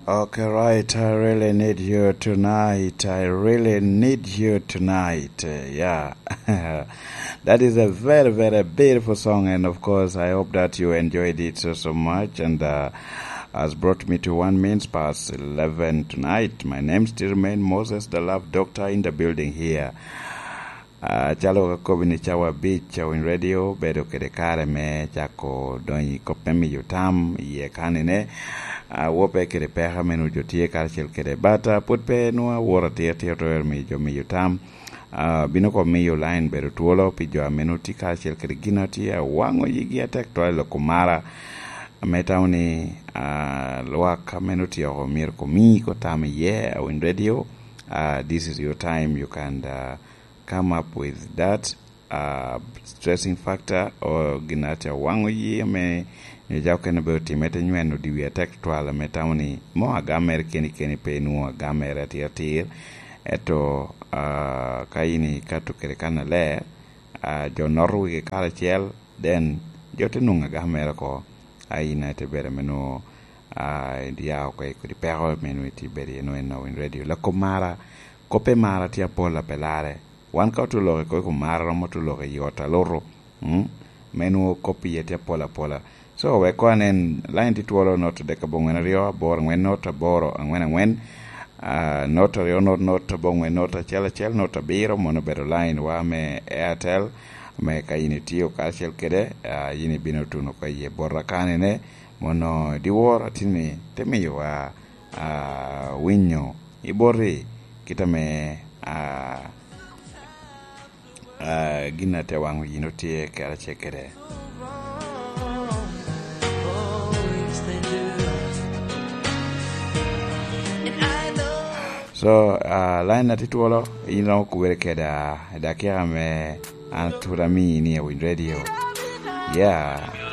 Okay, right. I really need you tonight. I really need you tonight. Yeah. That is a very, very beautiful song. And of course, I hope that you enjoyed it so, so much. And has brought me to 11:01 tonight. My name still remains Moses, the love doctor in the building here. Uh, calo kakobi ni cawa bic Awiny Radio bedo kede kare me cako donyo i kop me miyo tam iye kanine. Uh, wope kede peka meno jo tye karacel kede but uh, pud pe nwo awot atir tir twero miyo jo miyo tam. Uh, bino ko miyo line bedo twolo pi jo ameno tye karacel kede gin tye awango yigi atek twal loko mara me tamo ni uh, lwak ameno tyeko myero komi ko tam iye Awiny Radio. Uh, this is your time you can uh, come up with that uh, stressing factor or gin atia wango yie me nyo ja okene be otime te nyweno di wi atek twal me tamo ni mo agamere keni keni pe nwo agamere atir atir eto uh, ka ini ka tukere kana ler uh, jo noto wigi kare acel then jo te nongo agamere ko aina te bedo me nwo uh, ya ko kodi peko meno iti bedo iye nwo en Awiny Radio lako mara kope mara tye apola pe lare wan ka otuloke ko mara romo tuloke yot aluru mm? meno kopi iye tye apola apola so wek ko anen line tye twolo not adek abongwen aryo aboro angwen not aboro angwen angwen uh, not aryo not not abongwen not achiel achiel not abiro mono obedo line wa me Airtel me ka in itiyo kacel kede uh, in ibino tuno ko iye bota kanene mono diwor atini te miyowa uh, winyo iboti kita me uh, uh, gina te wango yino tye karace kede. Oh, yes, they do. And I know So uh, line na titwolo in romo kubere keda dakika me an tura mi ni Awiny Radio. Yeah.